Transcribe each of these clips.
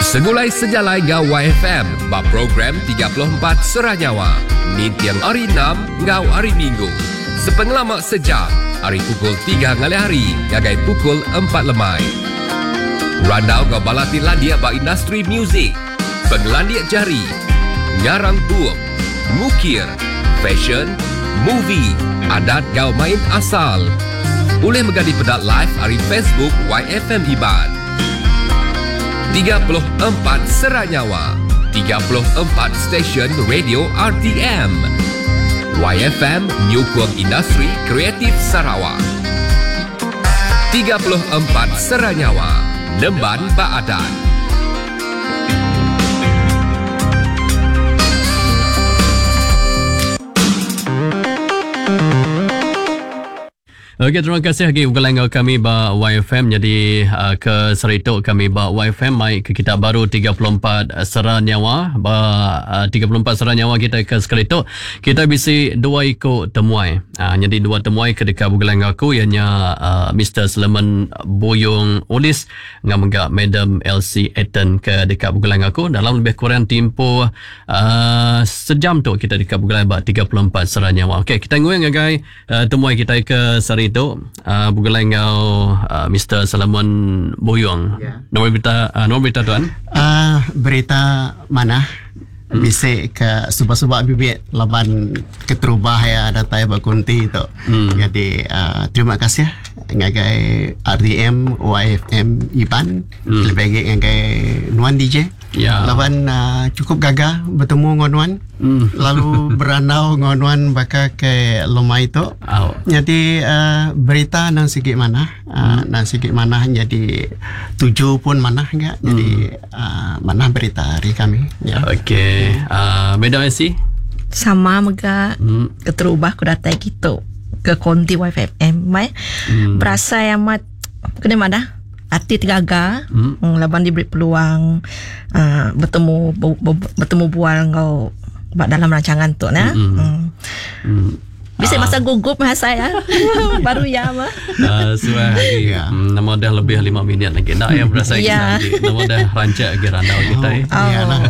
Segulai sejalai enggau YFM ba program 34 Sera Nyawa ninting Hari Enam enggau Hari Minggu sepengelama sejam ari pukul tiga ngalih hari ngagai pukul empat lemai. Randau enggau bala ti landik ba industri muzik, pengelandik jari, ngarang bup, ngukir, fashion, movie, adat enggau main asal. Ulih mega dipeda live ari Facebook YFM Iban. 34 Sera Nyawa, 34 stesen radio RTM. YFM nyukung industri kreatif Sarawak. 34 Sera Nyawa, nemban ba adat. Okey terima kasih agi begulai enggau kami ba YFM nyadi uh, ke sehari tu kami ba YFM mai ke kita baru 34 sera nyawa ba uh, 34 sera nyawa kita ke sekali tu kita bisi dua iku temuai. Uh, nyadi dua temuai ke deka begulai enggau aku iya nya uh, Mr Seleman Buyong Ulis enggau mega Madam Elsie Eton ke deka begulai enggau aku dalam lebih kurang timpuh uh, sejam tu kita deka begulai ba 34 sera nyawa. Okey kita nguing ngagai Uh, temuai kitai ke sehari tu uh, begulai enggau uh, Mr. Solomon Buyong. Yeah. Nombor berita uh, nombor berita tuan? Uh, berita mana? Hmm. Bisi ke suba-suba bibit laban keterubah ya datai ba kunti tu. Hmm. Jadi uh, terima kasih ngagai RDM YFM Iban hmm. lebih lagi ngagai Nuan DJ. Ya. Laban uh, cukup gagah betemu enggau nuan. Mm. Lalu berandau enggau nuan baka ke lemai tu. Au. Jadi uh, berita nang sigi manah, uh, mm. nang sigi manah jadi tuju pun manah enggak. Jadi mm. uh, manah berita hari kami. Ya. Okey. Uh, Madam Elsie? Sama mega mm. keterubah ku datai kitu ke konti YFM mai. Mm. Berasai amat kena madah Ati tegaga mm. laban diberi peluang uh, betemu betemu bual enggau ba dalam rancangan tu nah. Mm. Mm. Mm. Bisa masa gugup mah saya. Baru ya mah. Uh, suah lagi. Ya. Mm, nama dah lebih 5 minit lagi. Nak yang berasa yeah. lagi. Nama dah rancak lagi randau kita. Oh. Oh. Iyalah.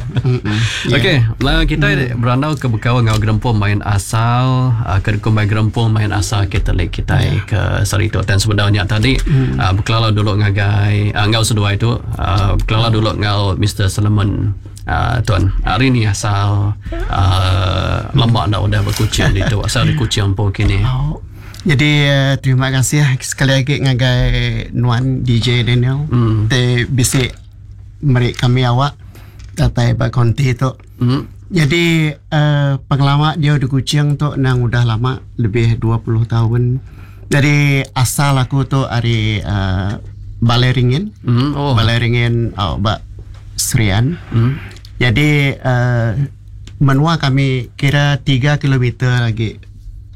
Okey, lah kita mm. berandau ke bekau ngau gerempung main asal, uh, ke kumbai gerempung main asal Katolik kita yeah. ke sehari tu. Dan sebenarnya tadi mm. uh, bekelala dulu ngagai uh, ngau seduai tu, uh, bekelala dulu ngau Mr. Solomon. Uh, tuan, hari ni asal uh, lama dah udah berkucing di tu. Asal di Kuching pun kini. Oh. Jadi uh, terima kasih sekali lagi ngagai Nuan DJ Daniel. Mm. Te bisi meri kami awak datai ba konti tu. Mm. Jadi uh, pengalaman dia di Kuching tu nang udah lama lebih 20 tahun. Jadi asal aku tu ari uh, Balai Ringin. Mm. Oh. Balai Ringin oh, ba Serian. Mm. Jadi uh, menua kami kira 3 km lagi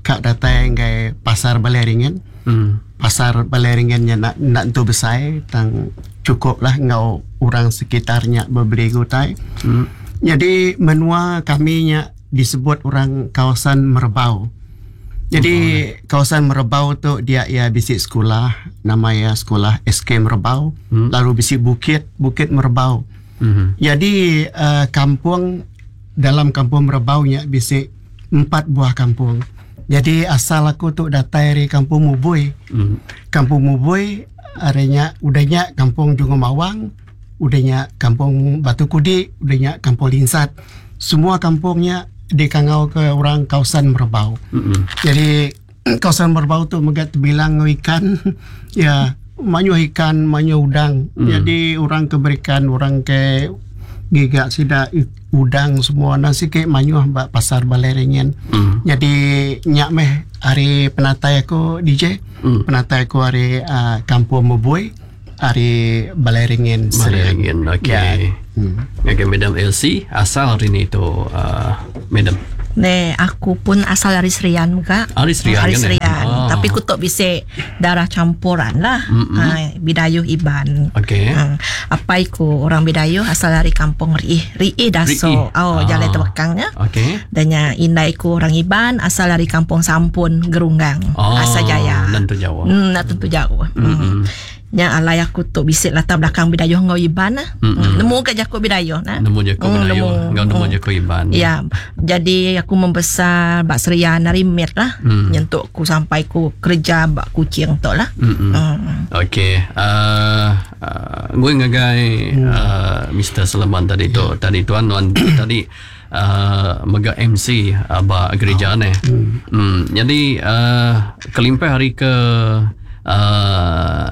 kak datai ngai pasar Balai Ringin. Mm. Pasar Balai Ringin nya nak nak tu besar tang cukup lah ngau orang sekitarnya berbeli gutai. Mm. Jadi menua kami nya disebut orang kawasan Merbau. Jadi oh. kawasan Merbau tu dia ia bisik sekolah nama ia sekolah SK Merbau. Mm. Lalu bisik bukit Bukit Merbau. Mm-hmm. Jadi uh, kampung dalam kampung Merbau nya bisik 4 buah kampung. Jadi asal aku tu datai dari kampung Mubui. Mm. Kampung Mubui arenya udahnya kampung Jungo Mawang, udahnya kampung Batu Kudi, udahnya kampung Linsat. Semua kampungnya dikangau ke orang kawasan Merbau. Mm-hmm. Jadi kawasan Merbau tu mega terbilang ikan ya manyu ikan, manyu udang. Mm. Jadi orang keberikan, orang ke giga sida udang semua nasi ke manyu ba pasar Balai Ringin. Mm. Jadi nyak meh hari penatai aku DJ, Mm. penatai aku hari uh, kampung Mubui, hari Balai Ringin. Balai Ringin, okey. Ya. Mm. Okey, Madam Elsie, asal hari ni tu uh, Madam. Ne, aku pun asal dari Serian juga. Ari Serian Ari kan, eh? Serian. Oh. Tapi aku tok bisa darah campuran lah. Mm-mm. Ha, Bidayuh Iban. Okey. Ha, apa iku orang Bidayuh asal dari kampung Riih. Riih Daso. Riih. Oh, Ah. jalan Tebekangnya. Okey. Dan nya indai ku orang Iban asal dari kampung Sampun Gerunggang. Oh, Asal Jaya. Tentu jauh. Hmm, nak tentu jauh. Mm-mm. Hmm. Nya alai aku tu bisi latar belakang Bidayuh enggau Iban lah. Mm-hmm. Nemu ke jaku Bidayuh nah. Nemu jaku mm, Bidayuh enggau nemu mm. jaku Iban. Ya. Jadi aku membesar ba Serian ari mit lah. Mm. Nyentuk ku sampai ku kerja ba Kuching tu lah. Mm-hmm. Mm. Okey. Uh, uh, gue ngagai mm. uh, Mr. Seleman tadi tu. Yeah. Tadi tuan nuan tadi uh, mega MC uh, ba gereja oh. ni. Mm. Mm. Jadi uh, kelimpah hari ke uh,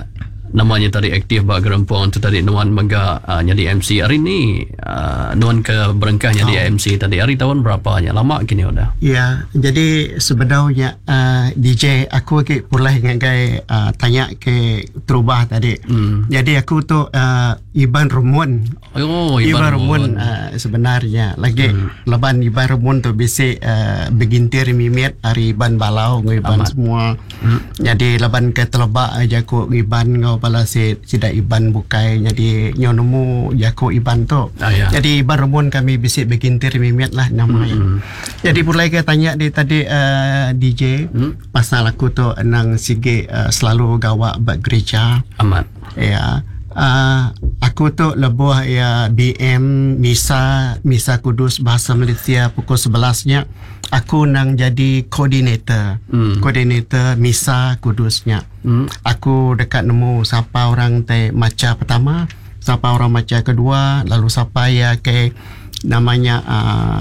namanya tadi aktif ba gerempung tu tadi nuan mega uh, jadi MC hari ni uh, nuan ke berengkah jadi oh. MC tadi hari tahun berapa nya lama kini udah ya jadi sebenarnya uh, DJ aku ke pulai ngagai uh, tanya ke terubah tadi mm. jadi aku tu uh, Iban Rumun Oh, Iban Rumun uh, sebenarnya lagi hmm. laban Iban Rumun tu bisi uh, begintir mimit ari Iban Balau ngau Iban Amat. semua. Hmm. Jadi laban ke telebak aja ku Iban ngau bala si sida Iban bukai jadi nyo nemu jaku Iban tu. Ah, ya. Jadi Iban Rumun kami bisi begintir mimit lah nama hmm. Jadi pulai ke tanya di tadi uh, DJ hmm. pasal aku tu nang sige uh, selalu gawak ba gereja. Amat. Ya. Uh, aku tu lebuh ya BM Misa Misa Kudus Bahasa Malaysia pukul 11 nya aku nang jadi koordinator. Mm. Koordinator Misa Kudusnya. Mm. Aku dekat nemu siapa orang te maca pertama, siapa orang maca kedua, lalu siapa ya ke namanya uh,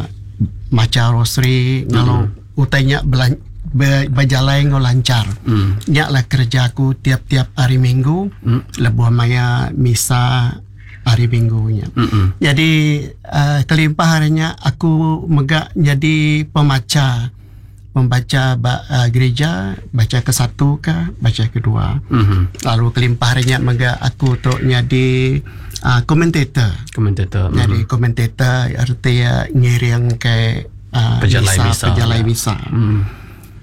maca rosary mm. Utainya belan berjalan ngau lancar. Mm. Nyak lah kerja aku tiap-tiap hari minggu, mm. lebuh maya misa hari minggunya. Mm-mm. Jadi uh, kelimpah harinya aku megak jadi pemaca, membaca ba, uh, gereja, baca ke satu ke, baca kedua. Mm-hmm. Lalu kelimpah harinya megak aku tu jadi uh, komentator. Komentator. Jadi mm-hmm. komentator artinya ngiring ke uh, pejalai misa, misa. Pejalai misa. Mm.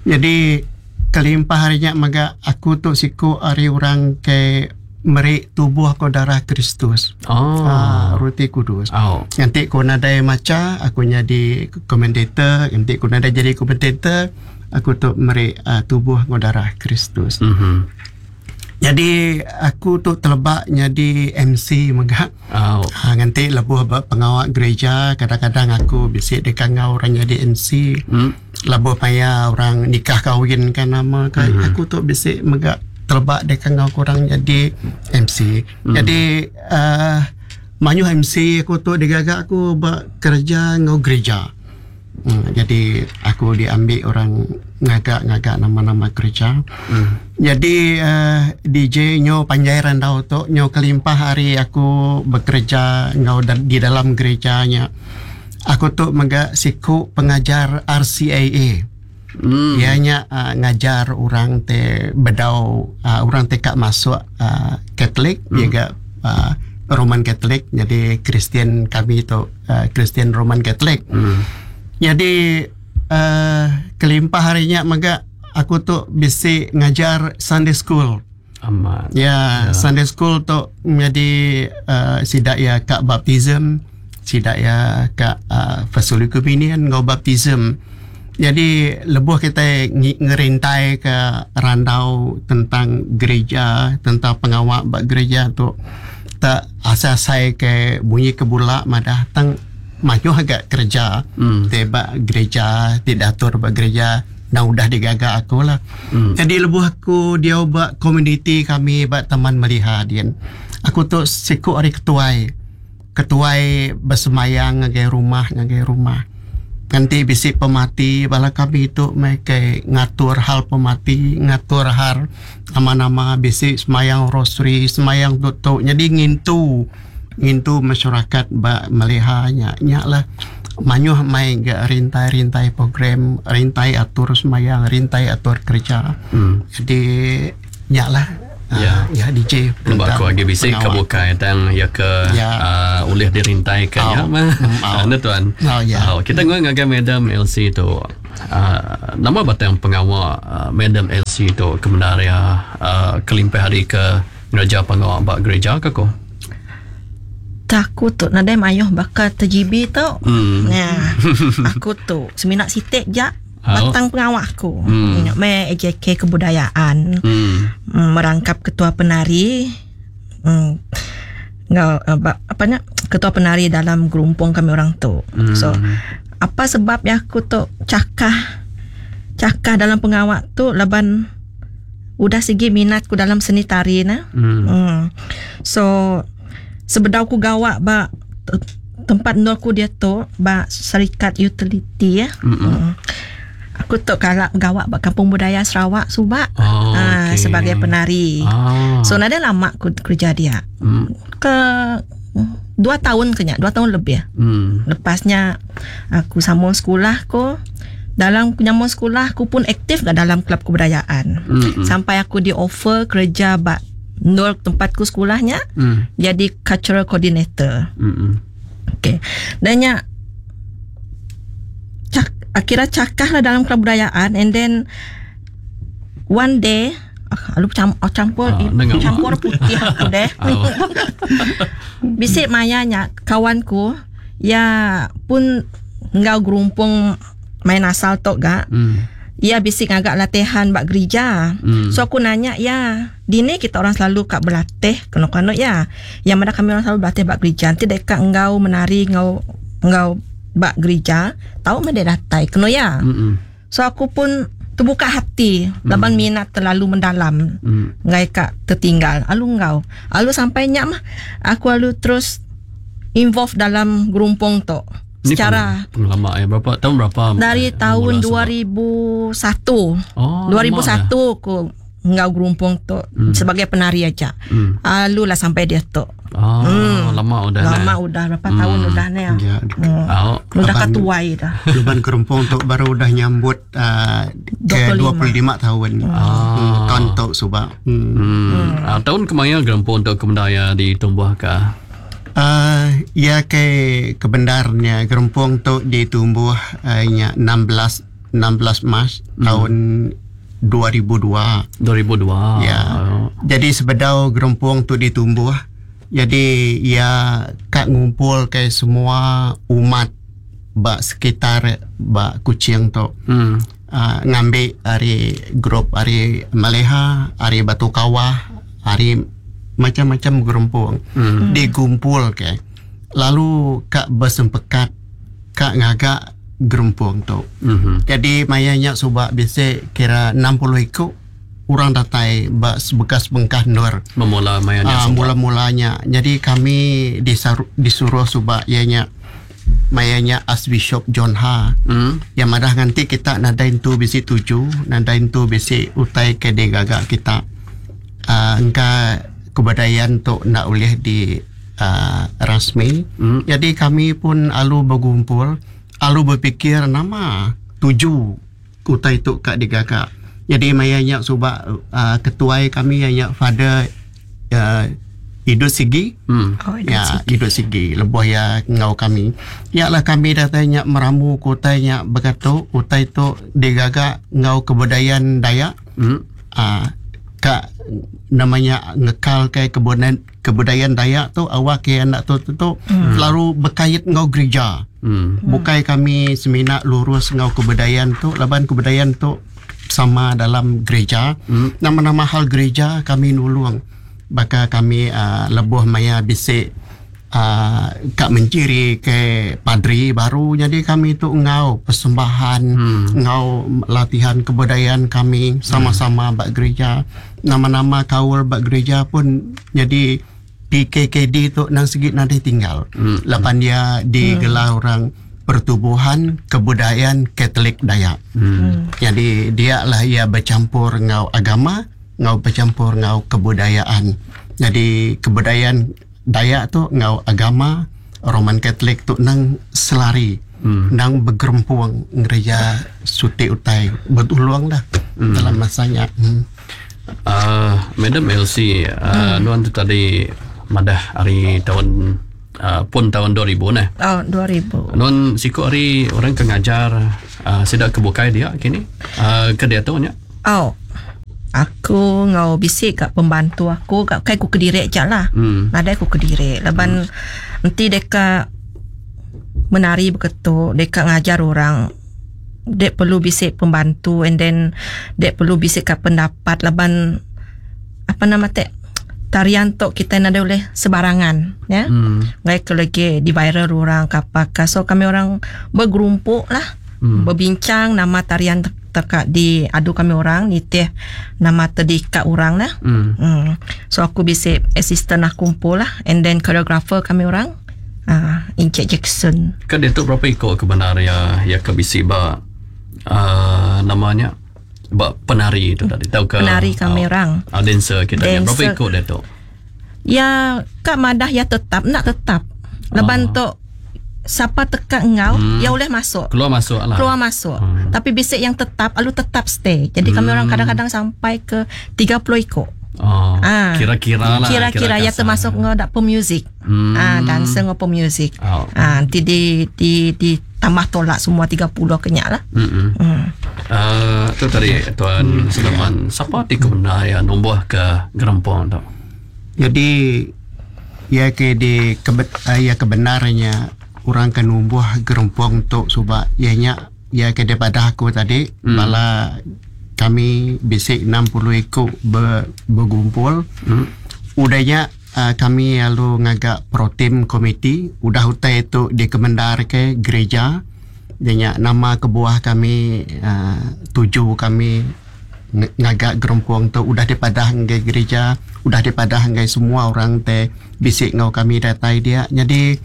Jadi kelimpah harinya maga aku tu siku hari orang ke meri tubuh ko darah Kristus. Oh. Ha, roti kudus. Oh. Nanti ko nadai maca, aku jadi komentator, nanti ko nadai jadi komentator, aku tu meri uh, tubuh ko darah Kristus. Mm-hmm. Jadi aku tu telebak jadi MC mega. Oh. Ha, nanti lebuh pengawak gereja, kadang-kadang aku bisik dekat ngau orang jadi MC. Mm. Lebuh payah orang nikah kahwin kan nama kan. Mm-hmm. Aku tu bisik mega telebak dekat ngau kurang jadi MC. Mm. Jadi uh, manyu MC aku tu digagak aku bekerja ngau gereja. Hmm, jadi aku diambil orang ngagak-ngagak nama-nama gereja. Mm. Jadi uh, DJ nyo panjai randau tu nyo kelimpah hari aku bekerja ngau da- di dalam gerejanya. Aku tu mega siku pengajar RCAA. Mm. Ianya uh, ngajar orang te bedau uh, orang te kak masuk uh, Katolik, mm. dia gak uh, Roman Katolik. Jadi Kristian kami tu uh, Kristian Roman Katolik. Mm. Jadi uh, kelimpah harinya mega aku tu bisi ngajar Sunday school. Amat. Ya, yeah, Sunday school tu menjadi uh, sidak ya kak baptism, sidak ya kak uh, First Holy Communion ngau baptism. Jadi lebuh kita ngerintai ke randau tentang gereja, tentang pengawak bak gereja tu tak asal-asal ke bunyi kebulak madah tang maju agak kerja mm. tebak gereja tidak atur bak gereja nah udah digagak aku lah. Mm. Jadi lebuh aku dia bak community kami bak taman melihat dia. Aku tu siku hari ketuai. Ketuai bersemayang ngagai rumah ngagai rumah. Nanti bisi pemati bala kami itu mereka ngatur hal pemati, ngatur hal nama-nama bisi semayang rosary, semayang tutup. Jadi ngintu ngintu masyarakat ba melihanya nya lah manyuh mai ga rintai-rintai program, rintai atur semayang, rintai atur kerja. Mm. Jadi nya lah Ya. ya DJ Sebab aku lagi bisik ke bukai tang ya ke Ya. uh, ulih dirintai ke ya Oh. mah. Mm, oh. Anda tuan. Oh, ya. Oh, kita ngoi ngagai Madam LC tu. Uh, nama batang pengawak uh, Madam LC tu kebenar ya uh, kelimpah hari ke ngereja pengawak bak gereja ke ko? Tak aku tu nadai mayuh bakal terjibi tu. Hmm. Nah, aku tu seminak sitik jak Oh. batang pengawak aku. Hmm. Me AJK kebudayaan. Hmm. Merangkap ketua penari Ngau apa nya ketua penari dalam gerumpung kami orang tu. So apa sebab ya aku tu cakah cakah dalam pengawak tu laban udah sigi minat ku dalam seni tari nah. So sebedau ku gawak ba tempat endur ku dia tu ba syarikat utility ya. Aku tu kala gawak ba Kampung Budaya Sarawak suba Oh, okey. sebagai penari. So nada lama ku kerja dia. Ke 2 tahun kenya, 2 tahun lebih. Lepasnya aku sambung sekolah ku. Dalam nyambung sekolah aku pun aktif gak dalam kelab kebudayaan. Sampai aku di offer kerja ba nur tempatku sekolahnya jadi cultural coordinator. Okey. Dan nya kira cakah lah dalam kebudayaan, and then one day lalu campur campur putih aku deh. Bisik mayanya kawanku ya pun ngau gerumpung main asal tok gak. Ya bisik ngagak latihan bak gereja. So aku nanya ya, dini kita orang selalu kak berlatih keno-keno ya. Yang mana kami orang selalu berlatih bak gereja. Nanti deka ngau menari ngau ngau bak gereja, tahu mah dia datai keno ya. So aku pun terbuka hati, laban minat terlalu mendalam. Ngai kak tertinggal. Alu ngau. Alu sampai nyak mah aku alu terus involve dalam gerumpung tu. Ini secara pengalaman ya, berapa tahun berapa? Dari tahun 2001. Oh, 2001 aku ngau gerumpung tu sebagai penari aja. Alu lah sampai dia tu. Oh, lama udah. Lama udah berapa tahun udah ni. Ya. Udah katuai dah. Luban gerumpung tu baru udah nyambut ke 25 tahun. Tahun tu subak. Tahun kemaya gerumpung tu kemendaya ditumbuh ke? Ya ke kebenarnya gerumpung tu ditumbuh nya 16 Mac tahun 2002. 2002. Ya. Jadi sebedau gerumpung tu ditumbuh, jadi ya kak ngumpul ke semua umat bak sekitar bak Kuching tu. Ngambil ari grup ari Maleha, ari Batu Kawah, ari macam-macam gerumpung digumpul ke. Lalu kak bersempekat kak ngagak gerumpung tu. Jadi mayanya subak bisa kira 60 ikut orang datai bak bekas bengkah nur. Memula mayanya subak. Mula-mulanya. Jadi kami disuruh subak ianya mayanya Archbishop John Ha. Yang madah nanti kita nadain tu bisi tuju, nadain tu bisi utai ke digagak kita. Engka kebudayaan tu nak boleh di rasmi. Jadi kami pun alu berkumpul, alu berfikir nama tuju utai tu kak digagak. Jadi mayanya subak ketuai kami ianya Father Idut Sigi. Oh, Idut ya, Sigi. Idut Sigi lebuh ya ngau kami. Ya lah kami datanya meramu kotanya berkata utai tu digagak ngau kebudayaan Dayak. Kak namanya ngekal ke kebudayaan Dayak tu awak ke anak tu tu lalu berkait ngau gereja. Bukai kami semina lurus ngau kebudayaan tu laban kebudayaan tu sama dalam gereja. Nama-nama hal gereja kami nulung. Baka kami lebuh maya bisik kak menciri ke padri baru. Jadi kami tu ngau persembahan, ngau latihan kebudayaan kami sama-sama bak gereja. Nama-nama kaul bak gereja pun jadi PKKD tu nang segi nanti tinggal. Lapan dia digelar orang Pertubuhan Kebudayaan Katolik Dayak. Jadi dia lah ia bercampur ngau agama, ngau bercampur ngau kebudayaan. Jadi kebudayaan Dayak tu ngau agama Roman Katolik tu nang selari, nang bergerempuang ngereja suti utai bertuluang lah dalam masanya. Madam Elsie, nuan tu tadi madah hari tahun pun tahun 2000 nah. Oh, 2000. Nuan siku hari orang ke ngajar sidak kebukai dia kini ke dia tu nya. Oh. Aku ngau bisik kat pembantu aku kat kai ku kedirek je lah. Nadai ku kedirek laban nanti deka menari beketuk, deka ngajar orang. Dek perlu bisik pembantu and then dek perlu bisik kat pendapat laban apa nama tek Tarian tu kitai nadai ulih sebarangan ya. Ngai ke lagi di viral orang ke apa ka. So kami orang begerumpuk lah. Berbincang nama tarian teka di adu kami orang nitih nama tedika orang lah. So aku bisi assistant aku empu lah and then choreographer kami orang Encik Jackson. Ke diatu berapa iko ke bendar ya ya ke bisi ba nama nya ba penari tu tadi tauka penari kami orang. Dancer kita nya berapa iko diatu? Ya ka madah ya tetap nak tetap. Laban tu siapa teka engau ya boleh masuk. Keluar masuk lah. Keluar masuk. Tapi bisik yang tetap lalu tetap stay. Jadi kami orang kadang-kadang sampai ke 30 iko. Oh, kira-kira lah. Kira-kira ya termasuk ngau dak pemuzik. Dancer ngau pemuzik. Nanti di di tambah tolak semua 30 kenyak lah. Tu tadi Tuan Sulaiman, siapa ti kebenar ya numbuh ke gerempong tu? Jadi ya ke di ya kebenarnya orang ke numbuh gerempong tu subak ianya ya ke daripada aku tadi bala kami bisik 60 ikut bergumpul. Udahnya kami lalu ngagak protem komiti udah utai itu dikemendar ke gereja. Ianya nama kebuah kami tuju kami ngagak gerempong tu udah dipadah ngai gereja, udah dipadah ngai semua orang te bisik ngau kami datai dia. Jadi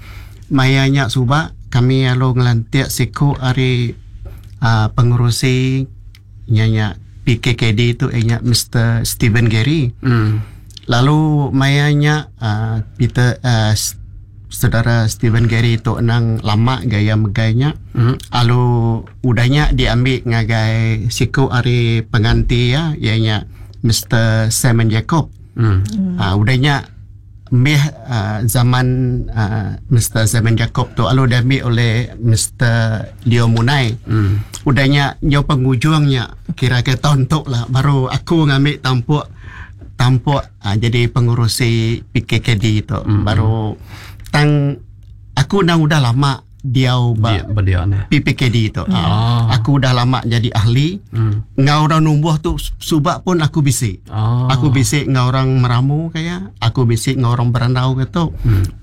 mayanya subak kami lalu ngelantik siku hari pengurusi nyanya PKKD tu ianya Mr. Stephen Gary. Lalu mayanya Peter saudara Stephen Gary tu nang lama gaya megainya. Lalu udahnya diambil ngagai siku hari pengganti ya ianya Mr. Simon Jacob. Udahnya meh zaman Mr. Simon Jacob tu lalu diambil oleh Mr. Leo Munai. Udahnya nyo penghujungnya kira-kira tahun tu lah baru aku ngambil tampuk jadi pengurusi PKKD tu. Baru tang aku dah udah lama diau ba PPKD tu. Aku dah lama jadi ahli. Ngau orang numbuh tu subak pun aku bisik. Aku bisik ngau orang meramu kaya, aku bisik ngau orang berandau gitu.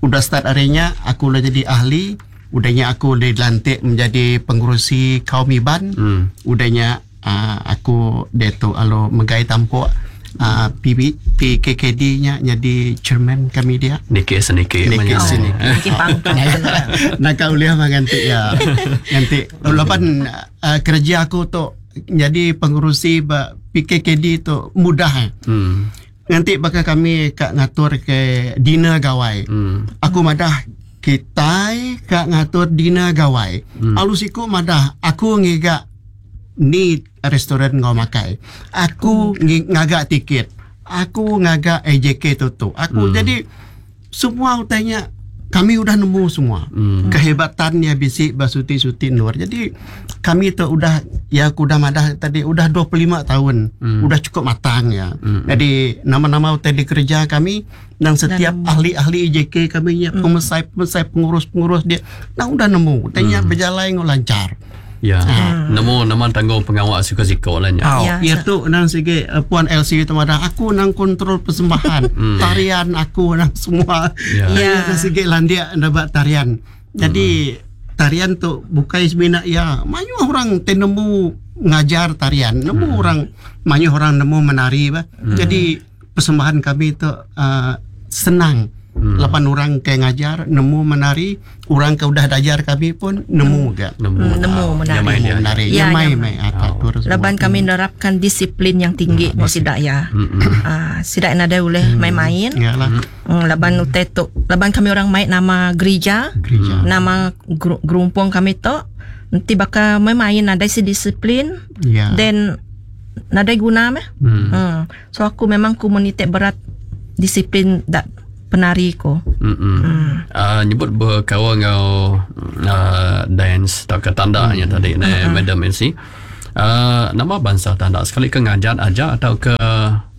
Udah start harinya aku dah jadi ahli, udahnya aku dilantik menjadi pengurusi kaum Iban. Udahnya aku deto alo megai tampuk PKKD nya jadi chairman kami dia. Niki seniki. Niki pangkat. Nak kau lihat ganti ya. Ganti. Lapan kerja aku tu jadi pengurusi PKKD tu mudah. Nanti bakal kami kak ngatur ke dinner gawai. Aku madah kita kak ngatur dinner gawai. Alusiku madah aku ngigak ni restoran ngau makai. Aku ngagak tiket. Aku ngagak AJK tu. Aku jadi semua utanya kami udah nemu semua. Kehebatannya bisik basuti-suti nur. Jadi kami tu udah ya aku udah madah tadi udah 25 tahun. Udah cukup matang ya. Jadi nama-nama utai di kerja kami dan setiap ahli-ahli AJK kami nya pemesai-pemesai pengurus-pengurus dia nah udah nemu. Utanya berjalan ngau lancar. Ya, nemu nama tanggung pengawal siko-siko lah nya. Ya tu nang sige Puan LC tu madah aku nang kontrol persembahan, tarian aku nang semua. Ya, nang sige landia dapat tarian. Jadi tarian tu bukan semina ya, banyak orang tenemu ngajar tarian, nemu orang banyak orang nemu menari bah. Jadi persembahan kami tu senang. 8 orang ke ngajar, nemu menari, orang ke udah dajar kami pun nemu gak. Nemu menari. Menari. Ya main main. Laban kami menerapkan disiplin yang tinggi mau sidak ya. Sidak nada boleh main-main. Laban utai tu, laban kami orang main nama gereja, nama gerumpung kami tu, nanti bakal main-main ada si disiplin. Then nada guna meh. So aku memang komunitas berat disiplin dak penari ko. Nyebut berkawan ngau dance atau ke tandanya tadi ne Madam NC. Nama bangsa tanda sekali ke ngajar aja atau ke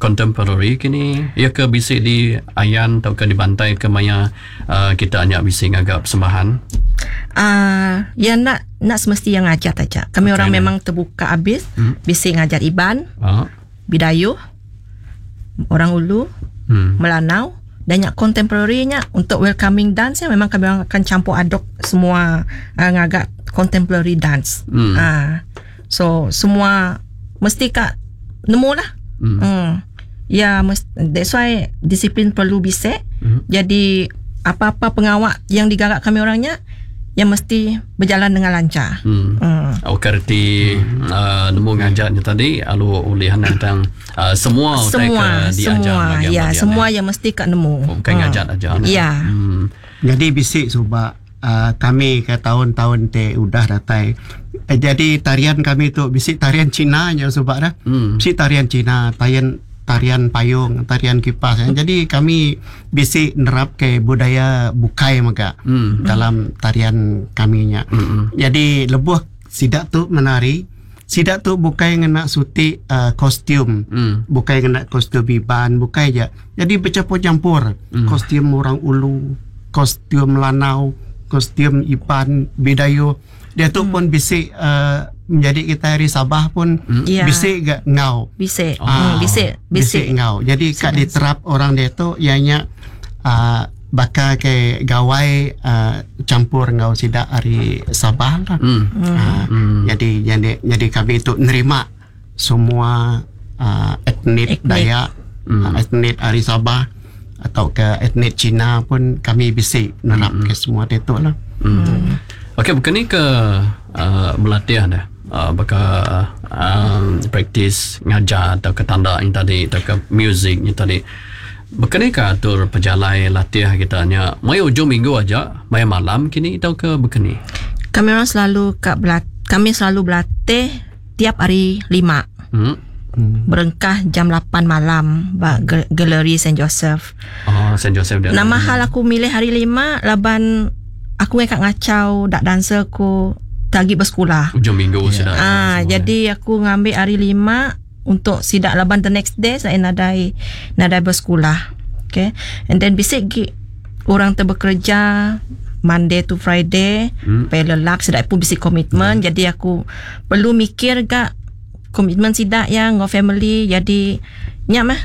contemporary kini ya ke bisik di ayan atau ke dibantai ke maya kita hanya bisik ngagap persembahan. Ya nak semesti yang ngajar aja. Kami orang memang terbuka habis bisik ngajar Iban, Bidayuh, orang Ulu, Melanau dan nya contemporary nya untuk welcoming dance nya memang kami orang akan campur aduk semua uh, ngaga contemporary dance. Uh, so semua mesti ka nemu lah. Ya that's why disiplin perlu bisik. Jadi apa-apa pengawak yang digaga kami orangnya yang mesti berjalan dengan lancar. Okey reti nemu ngajarnya tadi lalu ulih tentang semua utai Semua, ke diajar semua, bagi ya, amat dia, semua ne. yang mesti kat nemu. Bukan ngajar aja. Ne. Ya. Jadi bisik subak kami ke tahun-tahun te udah datai. Jadi tarian kami tu bisik tarian Cina nya subak dah. Bisik tarian Cina, tarian tarian payung, tarian kipas. Ya. Jadi kami bisik nerap ke budaya bukai mega dalam tarian kami nya. Jadi lebuh sidak tu menari, sidak tu bukai ngena suti kostum. Bukai ngena kostum biban, bukai je. Jadi bercampur-campur kostum orang Ulu, kostum Lanau, kostum Iban, Bidayo. Dia tu pun bisik menjadi kita hari Sabah pun Ya. bisik gak ngau. Bisik. Ah, Bisik, bisik bisik. ngau. Jadi kat diterap orang dia tu ianya bakal ke gawai campur ngau sidak hari Sabah lah. Jadi jadi jadi kami tu nerima semua etnik Etnik. Dayak, etnik hari Sabah atau ke etnik Cina pun kami bisik nerap ke semua dia tu lah. Okey, bukan ni ke berlatih dah. Baka praktis ngajar atau ke tanda yang tadi atau ke music yang tadi. Bukan ni ke atur pejalai latih kita nya. Mai ujung minggu aja, mai malam kini atau ke bukan ni? Kami orang selalu kat kami selalu berlatih tiap hari 5. Berengkah jam 8 malam ba Galeri Saint Joseph. Oh, Saint Joseph dia. Nama hal aku milih hari 5 laban aku ngai kat ngacau dak dancer aku lagi bersekolah. Ujung minggu sudah. Ah, jadi aku ngambil hari 5 untuk sidak laban the next day saya nadai nadai bersekolah. Okay. And then bisik gi orang tu bekerja Monday to Friday, hmm. lelak sidak pun bisik komitmen. Jadi aku perlu mikir gak komitmen sidak yang ngau family. Jadi nyak mah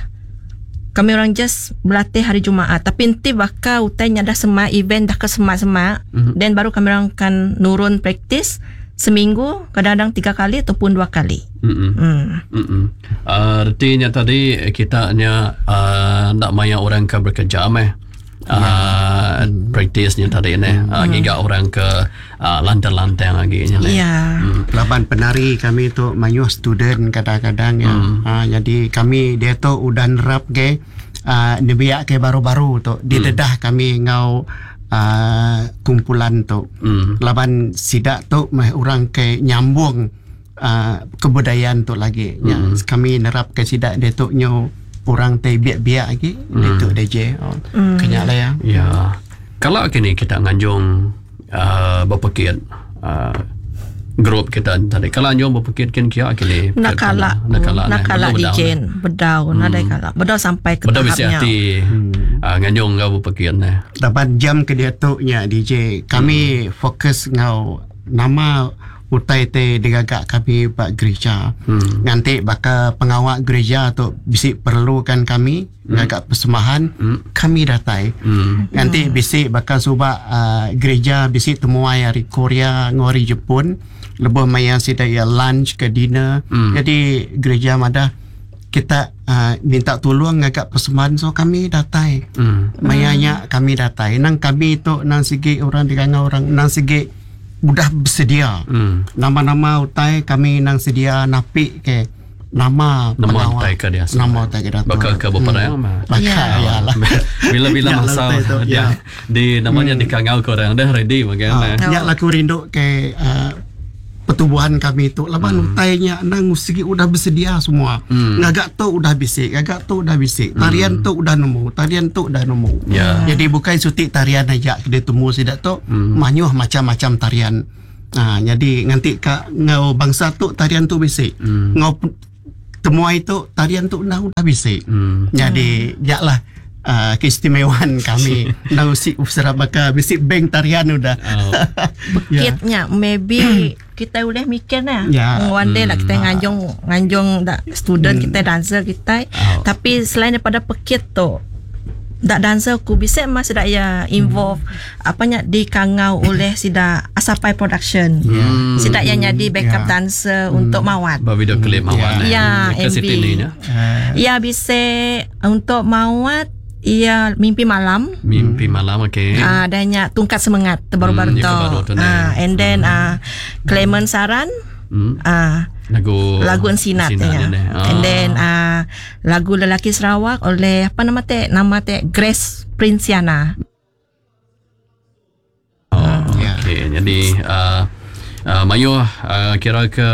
kami orang just berlatih hari Jumaat. Tapi nanti bakal utainya dah semak, event dah ke semak-semak. Then baru kami orang akan nurun praktis seminggu, kadang-kadang 3 kali ataupun 2 kali. Artinya tadi kita nya nak maya orang ke bekerja meh. Praktisnya tadi ni hingga orang ke lantang-lantang lagi nya. Ya. Laban penari kami tu mayuh student kadang-kadang ya. Jadi kami dia tu udah nerap ke nebiak ke baru-baru tu didedah kami ngau kumpulan tu. Laban sidak tu meh orang ke nyambung kebudayaan tu lagi. Ya, kami nerap ke sidak dia tu nyo orang te biak-biak lagi dia tu DJ. Kenyak lah ya. Ya. Kalau kini kita nganjung berpekit grup kita tadi. Kalau anjung berpekit kin kia kini. Nakala. Nakala DJ bedau nadai kala. Bedau sampai ke bedau bisi tahapnya. hati nganjung ngau berpekit ne. Dapat jam ke dia tu nya DJ. Kami fokus ngau nama utai te digagak kami bak gereja. Nanti bakal pengawak gereja tu bisik perlukan kami gagak persembahan kami datai. Nanti bisik bakal subak gereja bisik temuai hari Korea ngori Jepun lebih maya sida ya lunch ke dinner. Jadi gereja madah kita minta tolong ngagak persembahan so kami datai. Mayanya kami datai. Nang kami tu nang sigi orang digangau orang nang sigi udah bersedia. Nama-nama utai kami nang sedia napi ke nama Nama utai ke dia. Nama utai ke dia. Bakal ke beperang mah. Bakal ya lah. Bila-bila Ya lah masa utai tu, dia ya. di namanya dikangau ke orang dah ready bagaimana. Ya laku rindu ke pertubuhan kami tu laban utainya nang sigi udah bersedia semua. Ngagak tu udah bisik, ngagak tu udah bisik. Tarian tu udah nemu, tarian tu udah nemu. Ya. Jadi bukan sutik tarian aja dia temu sidak tu manyuh macam-macam tarian. Jadi nganti ka ngau bangsa tu tarian tu bisik. Ngau temuai tu tarian tu udah bisik. Jadi yaklah keistimewaan kami. Nang si usara baka bisik bank tarian udah. Bekitnya maybe kita boleh mikir nah. Ya. One day lah kita nganjung nganjung dak student kita dancer kita. Tapi selain daripada pekit tu Dak dancer ku bisi mah sida iya involve apa nya dikangau oleh sida Asapai Production. Sida iya nyadi backup dancer untuk Mawat. Ba video klip Mawat. Ya, Ke MV. Siti ni nya. Ya bisi untuk Mawat iya Mimpi Malam. Mimpi Malam, okey. Ah, dan nya Tungkat Semengat terbaru-baru Ya tu. ke baru tu ni. Ah, and then Clement Saran. Ah, Lagu lagu Ensinat, Ensinat ya. ni. Ah. And then lagu Lelaki Sarawak oleh apa nama te? Nama te Grace Princiana. Oh, okey. Jadi mayuh kira ke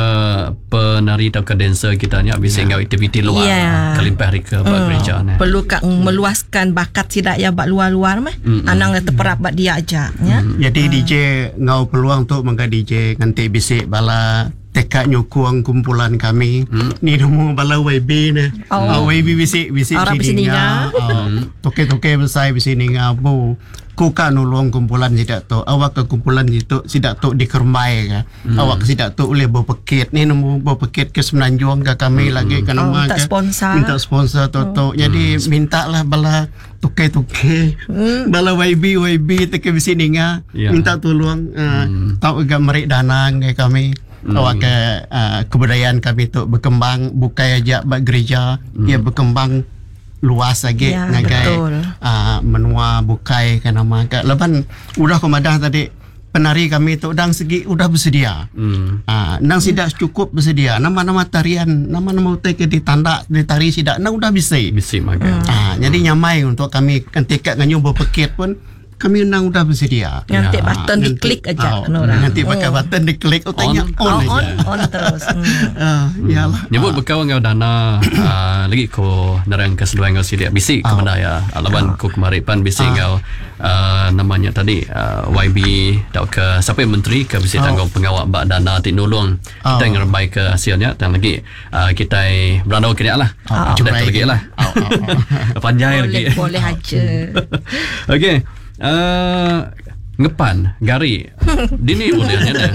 penari atau ke dancer kita ni bisa enggau aktiviti luar Ya. kelimpah hari ke yeah. gereja ni. Perlu kak meluaskan bakat sidak ya bak luar-luar meh. Anang terperap bak dia aja ya. Jadi DJ ngau peluang tu mangga DJ nganti bisik bala tekak nyukung kumpulan kami. Ni nemu bala YB ni. Oh. Oh. YB bisik bisik Orang sini bisik ninga. Oh. Toke-toke besar bisik ninga bu. Ku ka nulung kumpulan sidak tu. Awak ke kumpulan itu sidak tu dikermai ke. Awak ke sidak tu boleh berpekit. Ni nemu berpekit ke Semenanjung ke kami lagi ke Oh, nama minta ke. sponsor. Minta sponsor tu tu. Jadi minta lah bala toke-toke. Bala YB YB teke bisik ninga. Ya. Minta tolong tau agak merik dana ke kami. Awak ke kebudayaan kami tu berkembang bukan aja bak gereja, ia berkembang luas lagi Ya, ngagai betul. Menua bukai ke nama ke. Leban udah ku madah tadi penari kami tu udang segi udah bersedia. Nang sidak cukup bersedia. Nama-nama tarian, nama-nama utai ke ditanda ditari sidak nang udah bisa. Bisi maga. Jadi nyamai untuk kami ketika nganyu berpekit pun kami nang udah bersedia. Nganti Ya. button Nanti- diklik aja Oh, kena orang. Nanti pakai button diklik oh, tanya On. on, Oh, aja. on on terus. Yalah. Nyebut bekau ngau dana lagi ko nerang ke seduai ngau sidik bisi ke benda ya. Laban ko kemari pan bisi ngau namanya tadi YB tau ke siapa yang menteri ke bisi tanggung pengawak bak dana ti nulung kita ngerembai ke hasilnya dan lagi kita berandau ke dia lah. Oh, Sudah tu lagi lah. Oh, oh, oh. Panjai Boleh lagi. boleh aja. Okey. Ngepan gari. Dini boleh nya dah.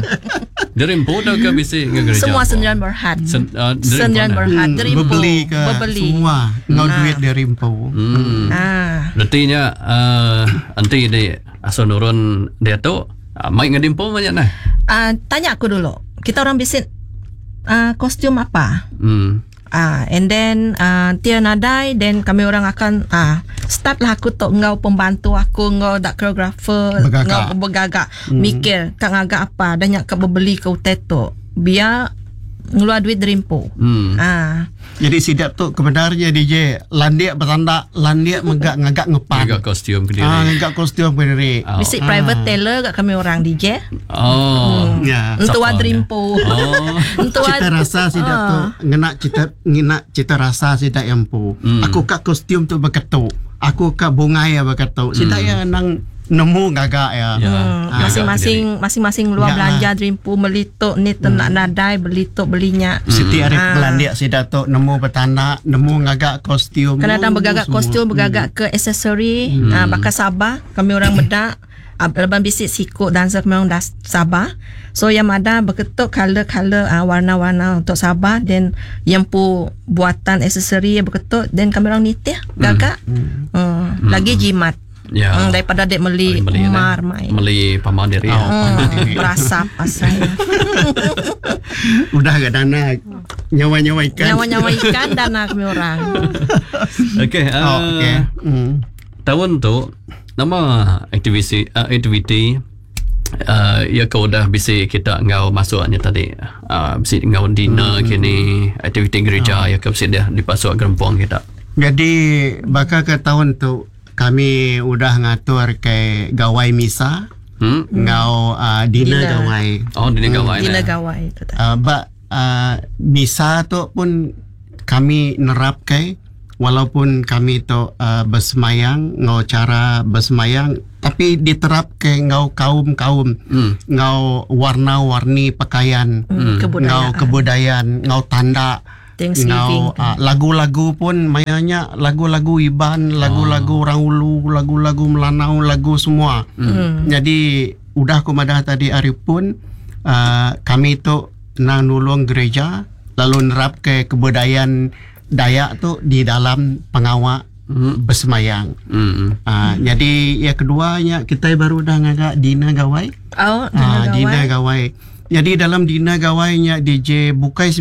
Dari empu tau ke bisi nge gereja. Semua apa? Sendirian Berhad. Dari Sendirian empu, eh? Berhad dari empu. Berbeli ke Berbeli. semua ngau duit dari empu. Ah. Artinya nanti di asal nurun dia tu mai dengan dimpo banyak nah. Tanya aku dulu. Kita orang bisik kostum apa? And then tia nadai then kami orang akan start lah aku tok ngau pembantu aku ngau dak koreografer Bergagak. ngau bergagak mikir kak ngagak apa dan nyak kak berbeli ke utai tu biar ngeluar duit dari empu. Jadi sidak tu kebenarnya DJ landik bertanda landik megak ngagak ngepan. Agak kostum ke diri. Ngagak kostum ke diri. Oh. Bisik private tailor kat kami orang DJ. Oh. Ya. Entu Siapa ada dia? empu. Oh. Entu Cita rasa sidak tu ngena cita ngena cita rasa sidak empu. Aku kak kostum tu berketuk. Aku kak bungai ya berketuk. Sidak ya nang nemu ngagak ya. Ya. Ngagak Masing-masing masing-masing luar Ya lah. belanja dreampu beli tok ni tenak nadai beli tok belinya. Siti hari belandia sidak tu nemu bertanda, nemu ngagak kostum. Kena datang nemu bergagak semua. kostum, bergagak ke aksesori, bakal Sabah, kami orang bedak. Lepas bisik sikut dancer kami orang dah Sabah. So yang ada berketuk color-color warna-warna untuk Sabah then yang pu buatan aksesori yang berketuk then kami orang nitih gagak. Lagi jimat. Ya. Daripada dek beli Beli, mar eh. mai. Beli paman diri. Oh. Berasap asal. Udah gak dana nyawa-nyawa ikan. Nyawa-nyawa ikan dana kami orang. Okey. Oh, okey. Tahun tu nama aktiviti aktiviti ya kau dah bisi kita ngau masuknya tadi bisi ngau dinner kini aktiviti gereja ya kau bisi dia dipasuk gerempong kita. Jadi bakal ke tahun tu kami udah ngatur ke gawai misa ngau dinner, Dinner. gawai. Oh dinner gawai. Dinner eh. gawai tu tak. Bak misa tu pun kami nerap ke walaupun kami tu bersemayang ngau cara bersemayang tapi diterap ke ngau kaum-kaum ngau warna-warni pakaian Kebudayaan. ngau kebudayaan ngau tanda Thanksgiving. ngau lagu-lagu pun mayanya lagu-lagu Iban, lagu-lagu orang Ulu, lagu-lagu Melanau, lagu semua. Jadi udah aku madah tadi hari pun kami tu nang nulung gereja lalu nerap ke kebudayaan Dayak tu di dalam pengawak Besemayang. Hmm. Jadi yang keduanya kita baru dah ngagak dinner gawai. Oh, Ah, dinner dinner gawai. gawai. Jadi dalam dinner gawainya DJ bukai.